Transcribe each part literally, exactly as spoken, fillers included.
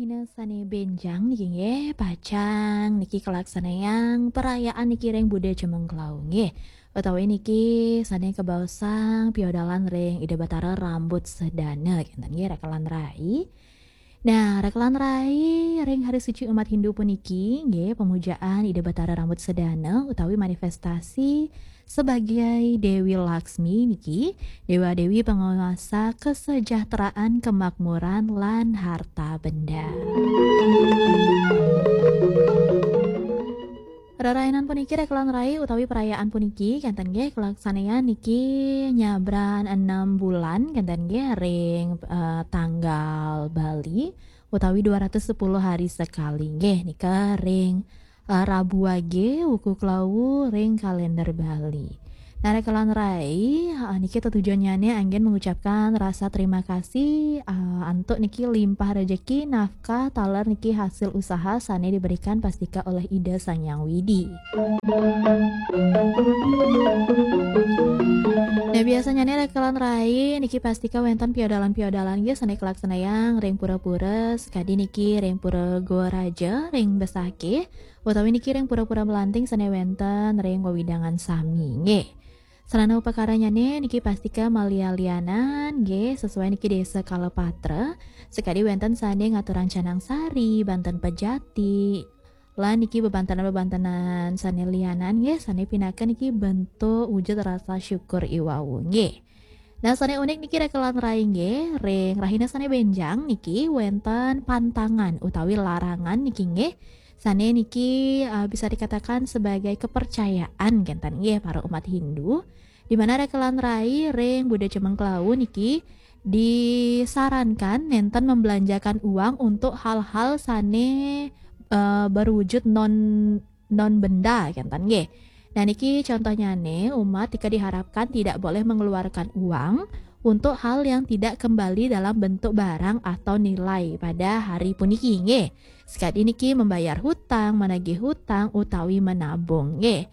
Dina sane benjang niki nggih, pacang niki kalaksanayang perayaan niki ring Buda Cemengklau nggih. Utawi niki sane kabaosang piodalan ring Ida Batara Rambut Sedana kenten nggih, Rekelan Rai. Nah, Rekelan Rai, ring hari suci umat Hindu puniki nggih, pemujaan Ida Batara Rambut Sedana utawi manifestasi sebagai Dewi Laksmi niki, dewa dewi penguasa kesejahteraan, kemakmuran, lan harta benda. Rerainan puniki, Rekelan Rai, utawi perayaan puniki kenten nggih kalaksanayang niki nyabran enam bulan kenten nggih ring eh, tanggal Bali utawi dua ratus sepuluh hari sekali nggih nika ring eh, Rabu Wage, wuku Klawu ring kalender Bali. Nah, Rekelan Rai, eh, niki tetujonnyane anggen mengucapkan rasa terima kasih eh, antuk niki limpah rejeki, nafkah, taler niki hasil usaha sane diberikan pastika oleh Ida Sang Hyang Widi. Nah, biasanyane Rekelan Rai niki pastika wenten piodalan-piodalan nggih sane kalaksanayang ring pura-pura, sekadi niki ring Pura Goa Raja, ring Besakih, utawi niki ring pura-pura Melanting sane wenten ring wewidangan sami nggih. Sarana upakaranyane niki pastika malian-lianan nggih, sesuai niki desa Kalapatra, sekadi wenten sane ngaturang canang sari, banten pejati, lan niki bebantenan-bebantenan sane lianan nggih, sane pinaka niki bentuk wujud rasa syukur iwau nggih. Nah, sane unik niki, Rekelan Rai nggih, ring rahina sane benjang niki wenten pantangan utawi larangan niki nggih, sane niki eh, bisa dikatakan sebagai kepercayaan kenten nggih para umat Hindu, di mana Rekelan Rai ring Buda Cemengklau niki disarankan nenten membelanjakan uang untuk hal-hal sane eh, berwujud non non benda kenten nggih. Nah, niki contohnyane, umat nika diharapkan tidak boleh mengeluarkan uang untuk hal yang tidak kembali dalam bentuk barang atau nilai pada hari puniki nggih. Sekadi niki membayar hutang, menagih hutang, utawi menabung nggih.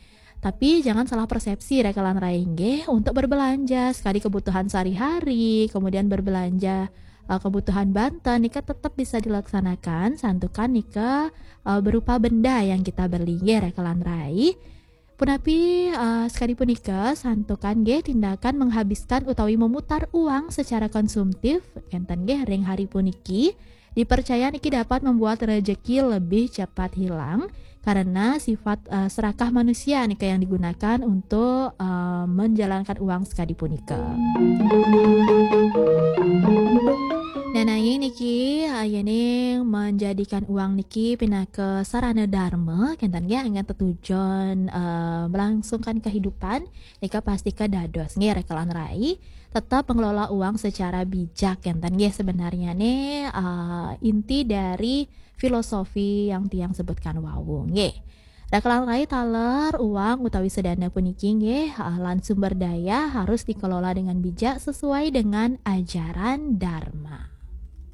Tapi jangan salah persepsi, Rekelan Rai nggih, untuk berbelanja sekadi kebutuhan sehari-hari, kemudian berbelanja eh, kebutuhan banten nika tetap bisa dilaksanakan santukan nika eh, berupa benda yang kita beli nggih, Rekelan Rai. Punapi eh, sekadi punika santukan nggih tindakan menghabiskan utawi memutar uang secara konsumtif kenten nggih ring hari puniki, dipercaya niki dapat membuat rejeki lebih cepat hilang karena sifat eh, serakah manusia nika yang digunakan untuk eh, menjalankan uang sekadi punika. Nah, nanging niki eh, yening menjadikan uang niki pinaka sarana dharma kenten nggih anggen tetujon eh, melangsungkan kehidupan, nika pastika dados nggih, Rekelan Rai, tetap mengelola uang secara bijak kenten nggih, sebenarnyane eh, inti dari filosofi yang tiang sebutkan wau nggih. Rekelan Rai, taler uang utawi sedana puniki nggih eh, lan sumber daya harus dikelola dengan bijak sesuai dengan ajaran Dharma.